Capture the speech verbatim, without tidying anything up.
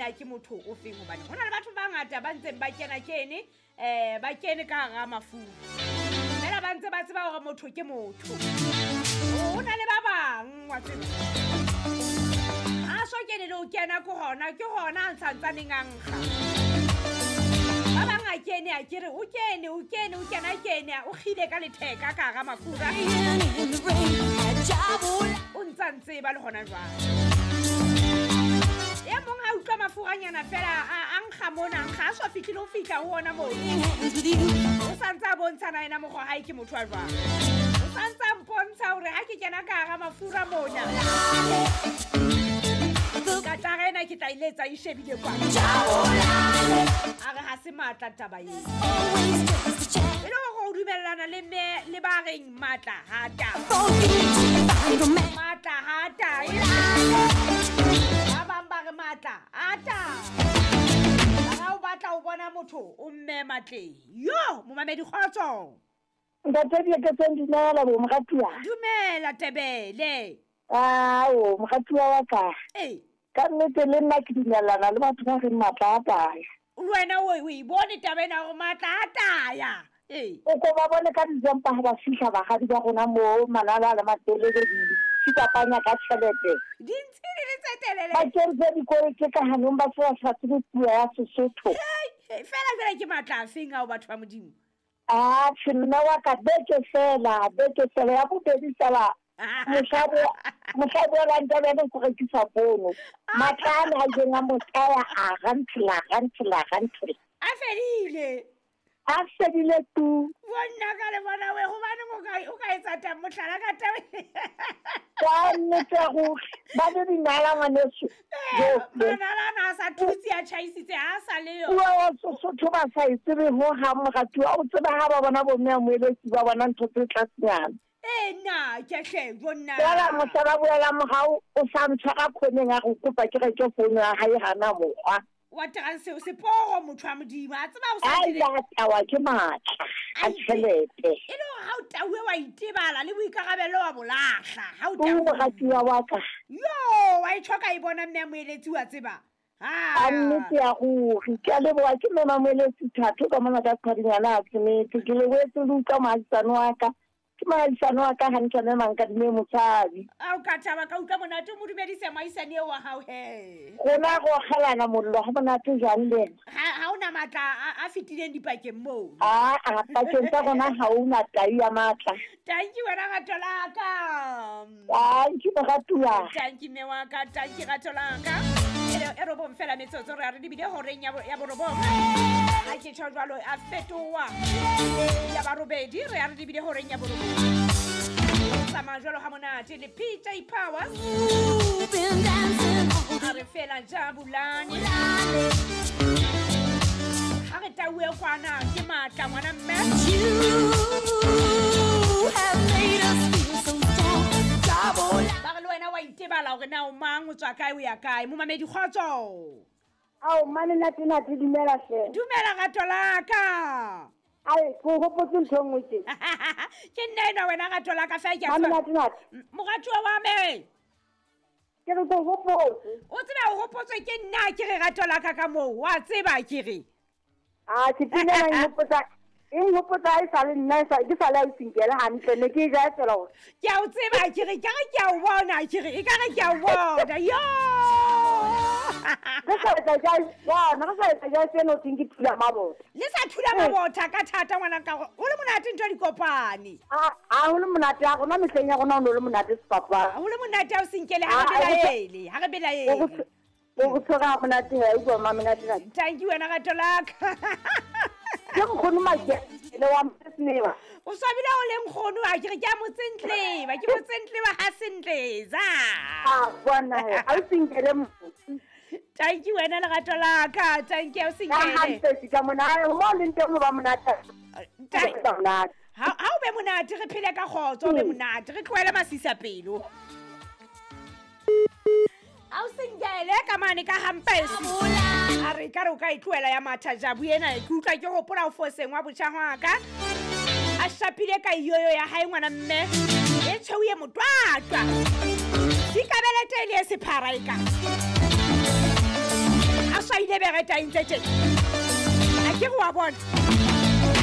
Ke motho o feng, hobane ho na le batho ba bangata ba ntseng ba kena kene um ba kene ka hara mafura, fela ba ntse ba tseba hore motho ke motho. Ho na le ba bang wa tseba ha so kene le ho kena ke hona ke hona a ntshantsaneng a nkga. Ba bang a kene a kere o kene o kene o kena kene o kgile ka letheka ka hara mafura, o ntsa ntseba le hona jwale. E mong a utlwa mafuranyana fela a nkga mona, nkga a so fihlile ho fihla ho ona moo. O santse a bontshana yena mokgwa hae ke motho wa jwang. O santse a mpontsha hore ha ke kena ka hara mafura mona, katara ena ke tla e letsa e shebile kwana. A re ha se matla taba eo. E le hore o dumellana le mme le ba reng matla ha taba. Matla ha taba. Ba bang ba re matla a taba. Ha o batla ho bona motho o mme matleng. Yo, momamedi kgotso. Ntate Dieketseng, dumela bo moratuwa. Dumela Tebele. Ao, moratuwa wa ka. Eh. Ka nnete le nna ke dumellana le batho ba reng matla a taya. Wena o o e bone taba ena hore matla a taya. Eh. O ko ba bone ka dijempa ha ba fihla bagadi ba rona moo malala le matelele di fitapanya ka tjhelete. Dintsi di le tse telele. Ba kentse dikolo tse ka hanong ba se ba sa tsebe puo ya Sesotho. Fela fela ke matla a feng ao batho ba Modimo? Ah, tjhe, nna wa ka beke fela, beke fela ya bobedi fela. Mohlabo mohlabo wa Ntebele go rekisa pono. Matla a na ileng a mo tsaya a rantla rantla rantla. A fedile. A fedile tu. Bonna ka le bona we hobane o ka o ka etsa taba mohlala ka taba. Ka nnete go ba le dinala ngwaneso. Manala na sa thutse a tjhaisitse ha sa le yo. Puo ya Sesotho ba sa e tsebe ho hang moratuwa. O tsebe ha ba bona bo mme a moeletsi ba bona ntho tse tlasenyana. Eh na ke hle bonna. Fela mohla boela morao o sa ntshwara khoneng a go kopa ke reke founu ya hae hana mokgwa. Wa transe o seporo motho wa Modimo a tseba o sa dire. Ai tawa ke matla a tjhelete. E le hore ha o tauwe wa itebala le boikarabelo wa bolahla ha o tauwe. O moratuwa wa ka. Yo wa itjho ka e bona mme a moeletsi wa tseba. Ha nnete ya ruri ke a leboha ke mme moeletsi thato ka mona ka qhadinyana a tsemetse ke lebohetse le utlwa moahisane wa ka. Ke moahisane wa ka hantle mme Mankadime Motshabi. A o ka thaba ka utlwa monate o mo dumedise moahisane eo wa hao he. Rona go kgelana mollo ha monate jwang le ena? Ha ha ona matla a fetileng dipakeng moo. Ah, a pakeng tsa rona ha ona tai ya matla. Thank you wena rato la ka. Thank you moratuwa. Thank you mme wa ka, thank you rato la ka. E robong fela metsotso re a re dibile horeng ya ya borobong. Ha ke tjho jwalo a fetoha. Ya barobedi re a re dibile horeng ya borobong. Tsamaya jwalo ha monate le P J Powers. A re fela jabulani. Ha re tauwe kwana ke matla ngwana mme. Ba re le wena wa itebala hore na o mang o tswa kae o ya kae. Momamedi kgotso. Ao mane nate nate dumela hle. Dumela rato la ka. Ai go hopotse ntho nngwe tje. Ke nna ena wena rato la ka fa ke a tswa. Mane nate. Moratuwa wa me. Ke re go hopotse. O tseba o hopotswe ke nna ke re rato la ka ka moo wa tseba ke re. Ah ke pina na hopotsa. E nhopotsa e sa le nna e sa ke sa le a isinkele hantle ne ke ja fela hore. Ke a o tseba ke re ke re ke a o bona ke re e ka re ke a o bona yo. Re sa etsa ja bona re sa etsa ja seno teng ke thula mabotha. Le sa thula mabotha ka thata ngwana ka o le monate ntho di kopane. Ah ah ho le monate ya rona mehleng ya rona o no le monate sepapa. Ho le monate a o sinkele ha re belaele ha re belaele. O go tshwara monate ha o bua monate. Thank you wena rato la ka. Ke nkgono Makele wa Motsentleba. O swabile o le nkgono a ke re ke a Motsentleba, ke Motsentleba ha Sentleza. Ah bona he, a o sinkele mo. Thank you wena lerato la ka, thank you o sinkele. Ka hantle ka mona, mo le nteng ba monate. Ha ha o be monate re phele ka kgotso, o be monate, re tlohele masisa pelo. A o sinkele ka mane ka hampesi. A re ka re o ka e tlohela ya matha jabu ena ke utlwa ke hopola o foseng wa botjha hwa ka. A shapile ka iyoyo ya hae ngwana mme e tshweu e motwatwa. Dikabelete le e sephara e ka. ebe re taintse tjena. A ke re wa bona.